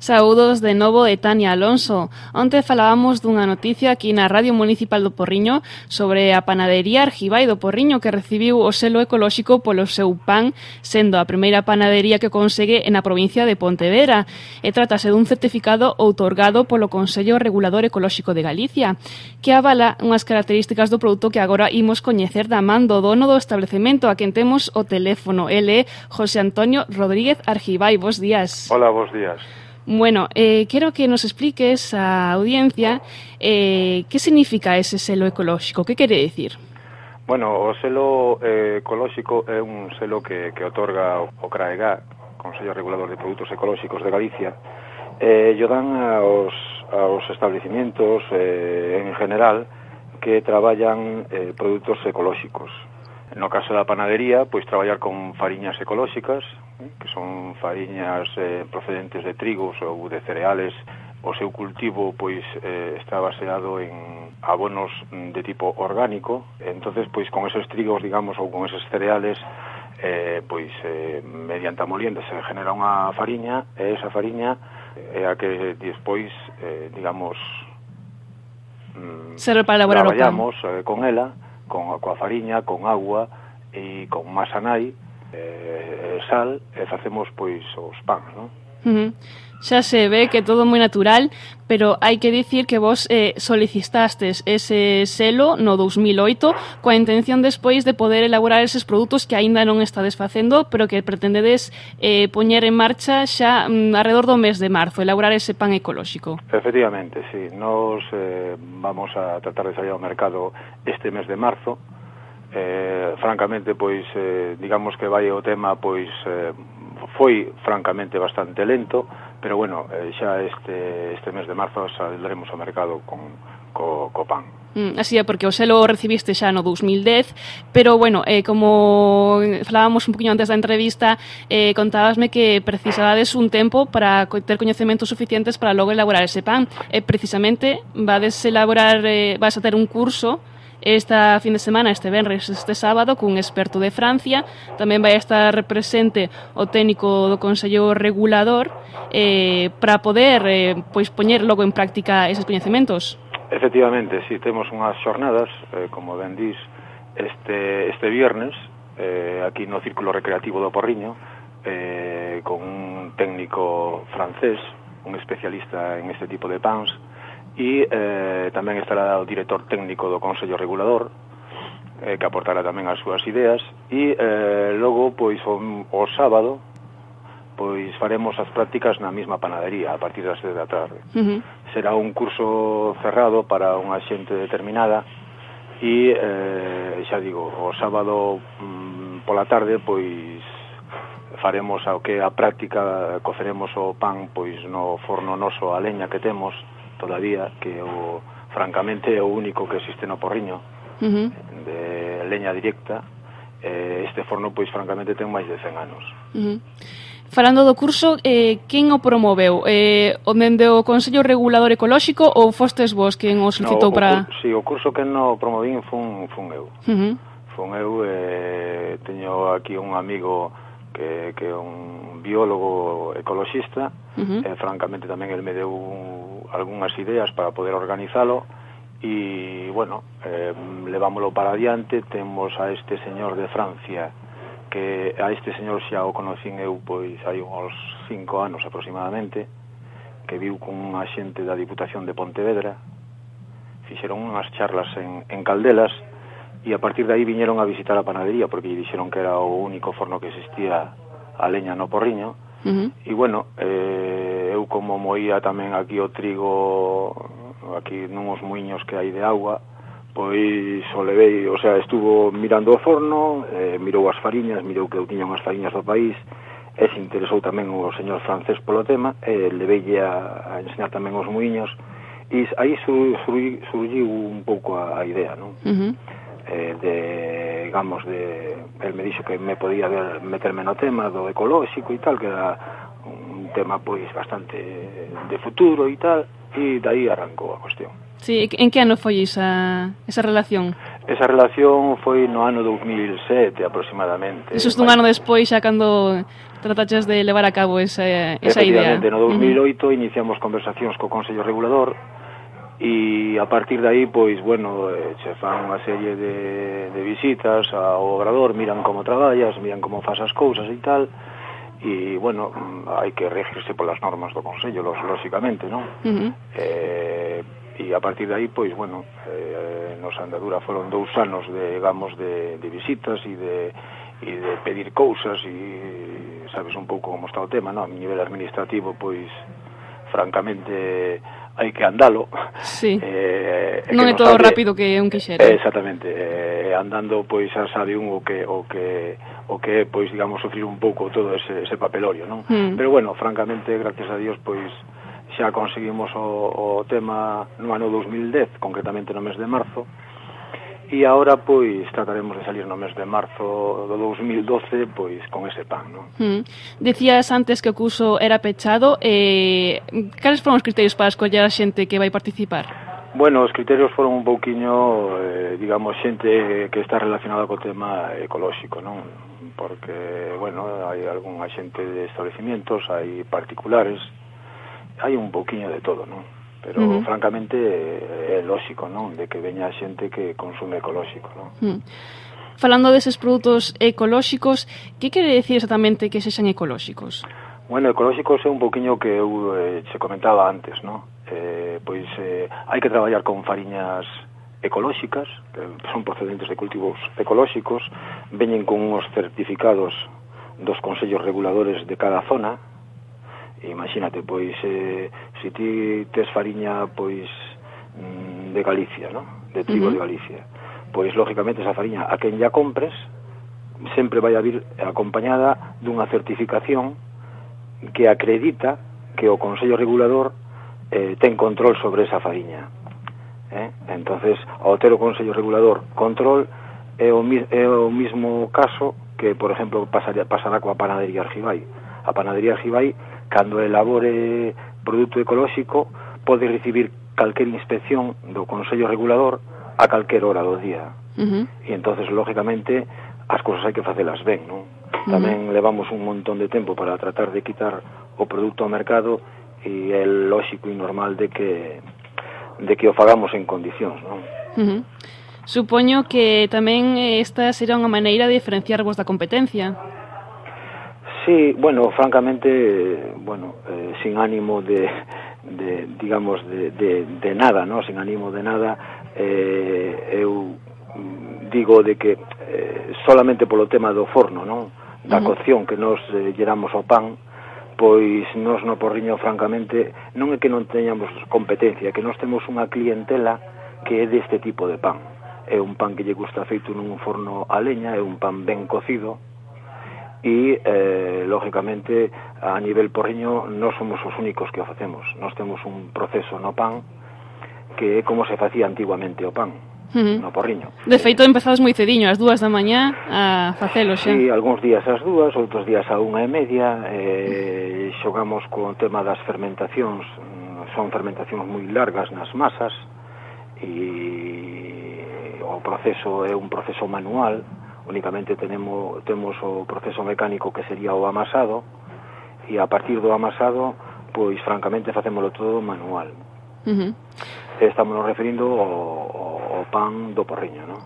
Saúdos de novo de Tania Alonso. Onte falábamos dunha noticia aquí na Radio Municipal do Porriño sobre a panadería Argibai do Porriño que recibiu o selo ecolóxico polo seu pan, sendo a primeira panadería que consegue na provincia de Pontevedra. E trátase dun certificado outorgado polo Consello Regulador Ecolóxico de Galicia, que avala unhas características do produto que agora imos coñecer da man do dono do establecemento, a quen temos o teléfono. Ele é José Antonio Rodríguez Argibai. Bos días. Hola, bos días. Bueno, quero que nos expliques á audiencia que significa ese selo ecolóxico, que quere dicir? Bueno, o selo ecolóxico é un selo que otorga o CRAEGA, Consello Regulador de Produtos Ecolóxicos de Galicia, e o dan aos establecimientos en general que traballan produtos ecolóxicos. No caso da panadería, pois traballar con fariñas ecolóxicas, que son fariñas procedentes de trigos ou de cereales. O seu cultivo pois está baseado en abonos de tipo orgánico. Entonces, pois con esos trigos, digamos, ou con esos cereales, mediante a molienda se genera unha fariña, e esa fariña é a que despois, digamos, serve para elaborar o pan. Traballamos con ela, coa fariña, con agua e con masa nai, sal, e facemos pois os pans, non? Xa se ve que todo moi natural, pero hai que dicir que vos solicitastes ese selo no 2008 coa intención despois de poder elaborar eses produtos que aínda non estades facendo, pero que pretendedes poñer en marcha xa alrededor do mes de marzo, elaborar ese pan ecolóxico. Efectivamente, sí. Nos vamos a tratar de salir ao mercado este mes de marzo. Francamente, pois, digamos que vai o tema, pois, foi francamente bastante lento, pero bueno, xa este mes de marzo saldremos ao mercado co pan. Así é, porque o selo recibiste xa no 2010, pero bueno, como falábamos un poquinho antes da entrevista, contábasme que precisabades un tempo para ter coñecementos suficientes para logo elaborar ese pan. Precisamente, vas a ter un curso esta fin de semana, este venres, este sábado, cun experto de Francia. Tamén vai estar presente o técnico do Consello Regulador para poder pois poñer logo en práctica eses coñecementos. Efectivamente, si temos unhas xornadas, como ben dís, este viernes, aquí no Círculo Recreativo do Porriño, con un técnico francés, un especialista en este tipo de pans, e tamén estará o director técnico do Consello Regulador, que aportará tamén as súas ideas, e logo, pois, o sábado, pois faremos as prácticas na mesma panadería a partir das 6 da tarde. Será un curso cerrado para unha xente determinada e, xa digo, o sábado pola tarde, pois faremos a práctica, coceremos o pan pois no forno noso a leña que temos todavía, que francamente é o único que existe no Porriño, de leña directa. Este forno, pois, francamente, ten máis de 100 anos. Falando do curso, quen o promoveu? O dende o Consello Regulador Ecolóxico ou fostes vos quen o solicitou para... Si, o curso que no promovín fun eu. Fun eu, teño aquí un amigo que é un biólogo ecoloxista, francamente tamén el me deu algunhas ideas para poder organizalo, e, bueno, levámoslo para adiante. Temos a este señor de Francia, que a este señor xa o conocín eu pois hai uns 5 anos aproximadamente, que viu con unha xente da Diputación de Pontevedra, fixeron unhas charlas en Caldelas, e a partir de aí viñeron a visitar a panadería, porque lle dixeron que era o único forno que existía a leña no Porriño. E bueno, eu como moía tamén aquí o trigo, aquí nuns muiños que hai de agua, pois o levei, o sea, estuvo mirando o forno, mirou as fariñas, mirou que eu tiña unhas fariñas do país, e se interesou tamén o señor francés polo tema, e leveille a enseñar tamén os muiños, e aí surgiu un pouco a idea, non? Digamos, el me dixo que me podía meterme no tema do ecolóxico e tal, que era un tema pois bastante de futuro e tal, e dai arrancou a cuestión. Sí, en que ano foi esa relación? Esa relación foi no ano 2007 aproximadamente. Eso dun ano despois, xa cando trataches de levar a cabo esa idea. Efectivamente, no 2008 iniciamos conversacións co Consello Regulador e a partir de aí, pois, bueno, se fan unha serie de visitas ao obrador, miran como traballas, miran como fas as cousas e tal, e, bueno, hai que regirse polas normas do Consello, lóxicamente, non? E a partir de aí, pois, bueno, nos andadura foron 2 anos, digamos, de visitas e de pedir cousas e sabes un pouco como está o tema, non? A nivel administrativo, pois, francamente, hai que andalo. Sí. Non é todo rápido que un quixera. Exactamente. Andando, pois, xa sabe un o que é, pois, digamos, sufrir un pouco todo ese papelorio, non? Pero, bueno, francamente, gracias a Dios, pois, xa conseguimos o tema no ano 2010, concretamente no mes de marzo, e agora, pois, trataremos de salir no mes de marzo do 2012, pois, con ese pan, non? Decías antes que o curso era pechado, cales foron os criterios para escoller a xente que vai participar? Bueno, os criterios foron un pouquiño, digamos, xente que está relacionada co tema ecolóxico, non? Porque, bueno, hai algunha xente de establecimientos, hai particulares, hai un pouquiño de todo, non? Pero, francamente, é lóxico, non? De que veña xente que consume ecolóxico, non? Falando deses produtos ecolóxicos, que quere decir exactamente que sexan ecolóxicos? Bueno, ecolóxicos é un pouquiño que eu se comentaba antes, non? Pois hai que traballar con fariñas ecolóxicas, que son procedentes de cultivos ecolóxicos, veñen con uns certificados dos consellos reguladores de cada zona. Imagínate, pois, se ti tes fariña, pois, de Galicia, non? De trigo de Galicia, pois, lógicamente, esa fariña, a quen ya compres, sempre vai a vir acompañada dunha certificación que acredita que o Consello Regulador ten control sobre esa fariña. Entonces, ao ter o Consello Regulador control, é o mismo caso que, por exemplo, pasará coa panadería Argibai. A panadería Argibai, cando elabore produto ecolóxico, pode recibir calquer inspección do Consello Regulador a calquer hora do día. E entonces, lógicamente, as cousas hai que facelas ben, non? Tamén levamos un montón de tempo para tratar de quitar o produto ao mercado e é lóxico e normal de que o fagamos en condicións, non? Supoño que tamén esta será unha maneira de diferenciarvos da competencia. Sí, bueno, francamente, sin ánimo de digamos, de nada, ¿no? Sin ánimo de nada, eu digo de que solamente polo tema do forno, non? Da cocción que nos lleramos ao pan, pois nos no Porriño, francamente, non é que non teñamos competencia, que nos temos unha clientela que é deste tipo de pan. É un pan que lle gusta feito nun forno a leña, é un pan ben cocido, e, lógicamente, a nivel porriño non somos os únicos que o facemos. Nós temos un proceso no pan que é como se facía antiguamente o pan no Porriño. De feito, empezades moi cediño, ás 2 da mañá a facelo xa. Sí, algúns días ás 2, outros días á 1:30. Xogamos co tema das fermentacións. Son fermentacións moi largas nas masas e o proceso é un proceso manual. Únicamente temos o proceso mecánico que sería o amasado, e a partir do amasado, pois francamente facémolo todo manual. Estamos nos referindo ao pan do Porriño, non?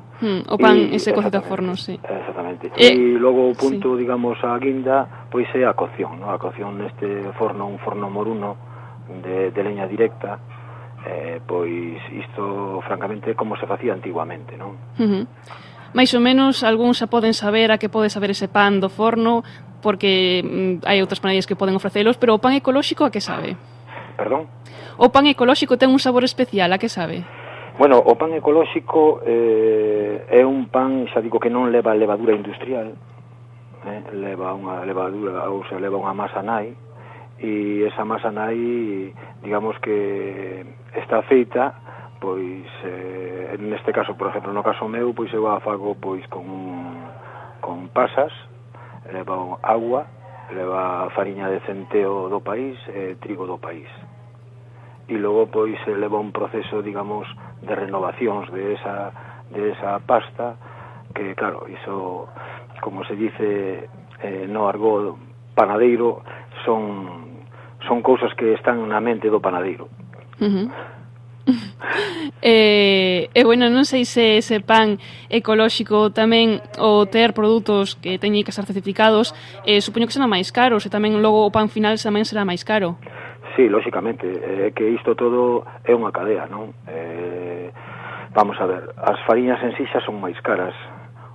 O pan ese cocido a forno, sí. Exactamente. E logo o punto, digamos, a guinda, pois é a cocción, non? A cocción neste forno, un forno moruno de leña directa, pois isto francamente como se facía antiguamente, non? Mais ou menos, algúns xa poden saber a que pode saber ese pan do forno, porque hai outras panaderías que poden ofrecelos, pero o pan ecolóxico a que sabe? Perdón? O pan ecolóxico ten un sabor especial, a que sabe? Bueno, o pan ecolóxico é un pan, xa digo, que non leva levadura industrial, leva unha levadura, ou sea, leva unha masa nai, e esa masa nai, digamos que está feita, pois, neste caso, por exemplo, no caso meu, pois eu a fago pois con pasas, leva agua, leva fariña de centeo do país, trigo do país. E logo, pois, leva un proceso, digamos, de renovacións de esa esa pasta, que claro, iso, como se dice no argot panadeiro, son cousas que están na mente do panadeiro. Bueno, non sei se ese pan ecolóxico tamén o ter produtos que teñen que ser certificados, supoño que será máis caro, se tamén logo o pan final tamén será máis caro. Sí, lóxicamente, que isto todo é unha cadea, non? Vamos a ver, as fariñas en sí xa son máis caras,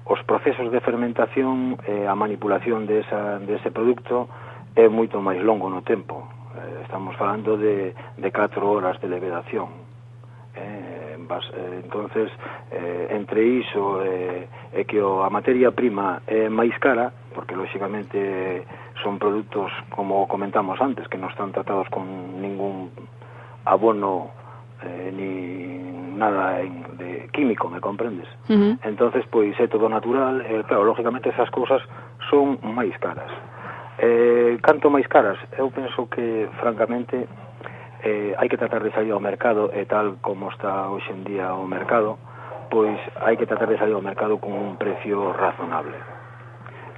os procesos de fermentación e a manipulación dese produto é moito máis longo no tempo. Estamos falando de 4 horas de levedación. Entonces, entre iso e que a materia prima é máis cara, porque lóxicamente son produtos, como comentamos antes, que non están tratados con ningún abono ni nada de químico, me comprendes? Entonces, pois é todo natural, claro, lógicamente esas cousas son máis caras. Canto máis caras? Eu penso que, francamente, hai que tratar de salir ao mercado, e tal como está hoxe en día o mercado, pois hai que tratar de salir ao mercado con un precio razonable,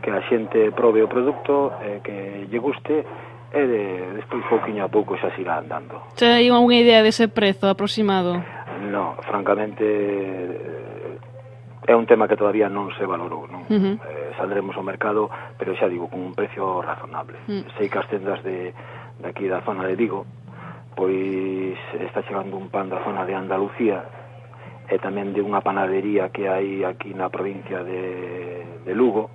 que a xente probe o produto, que lle guste, e despois pouquiño a pouco xa siga andando. Hai unha idea dese prezo aproximado? No, francamente é un tema que todavía non se valorou, non? Saldremos ao mercado, pero xa digo, con un precio razonable. Sei que as tendas de aquí da zona de Vigo, pois está chegando un pan da zona de Andalucía e tamén de unha panadería que hai aquí na provincia de Lugo,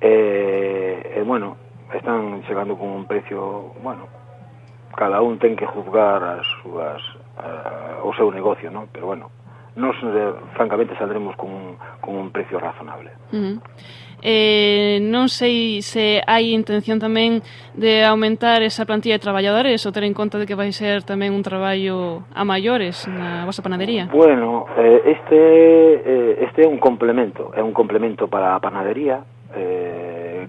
e bueno, están chegando con un precio, bueno, cada un ten que juzgar o seu negocio, non? Pero bueno, nos francamente saldremos con un precio razonable. Non sei se hai intención tamén de aumentar esa plantilla de traballadores ou ter en conta de que vai ser tamén un traballo a maiores na vosa panadería. Bueno, este é un complemento para a panadería,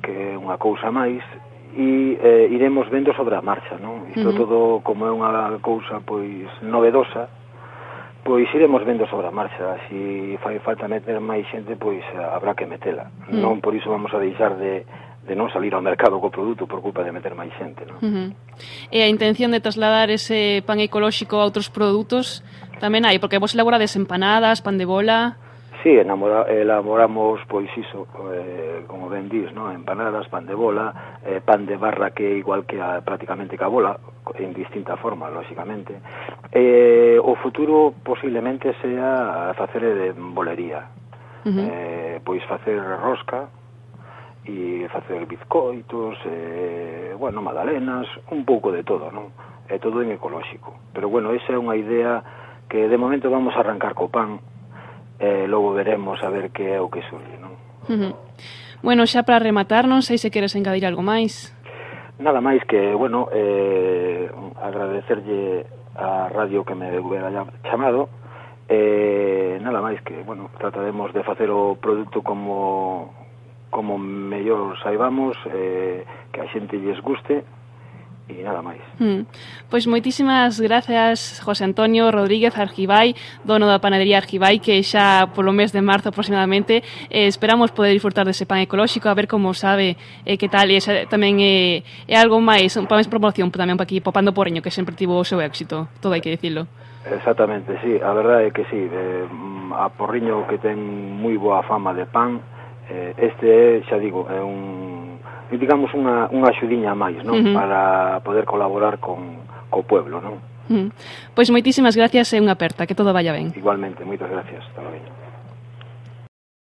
que é unha cousa máis, e iremos vendo sobre a marcha, non? Isto todo, como é unha cousa pois novedosa, pois iremos vendo sobre a marcha. Se fai falta meter máis xente, pois habrá que metela. Non por iso vamos a deixar de non salir ao mercado co produto por culpa de meter máis xente, non? E a intención de trasladar ese pan ecolóxico a outros produtos tamén hai, porque vos elaborades empanadas, pan de bola. Sí, elaboramos, pois iso, como ben dís, no? Empanadas, pan de bola, pan de barra, que é igual que prácticamente que a bola, en distinta forma, lóxicamente. O futuro posiblemente sea facer de bolería, pois facer rosca e facer bizcoitos, bueno, magdalenas, un pouco de todo, non? É todo en ecolóxico. Pero bueno, esa é unha idea que de momento vamos a arrancar co pan, logo veremos a ver que é o que surge, non? Bueno, xa para rematar, non sei se queres engadir algo máis. Nada máis que, bueno, agradecerlle a radio que me hubiera chamado, nada máis que, bueno, trataremos de facer o produto como mellor saibamos, que a xente lles guste, e nada máis. Pois moitísimas gracias, José Antonio Rodríguez Argibay, dono da panadería Argibay, que xa polo mes de marzo aproximadamente esperamos poder disfrutar dese pan ecolóxico, a ver como sabe, que tal, e tamén é algo máis, para máis promoción tamén para aquí, po Pan do Porriño, que sempre tivo o seu éxito, todo hai que dicilo. Exactamente, sí, a verdade é que sí, a Porriño, que ten moi boa fama de pan, este é, xa digo, é digamos unha axudiña máis, non? Para poder colaborar co pueblo, non? Pois moitísimas gracias e unha aperta, que todo vaya ben. Igualmente, moitas gracias, hasta logo.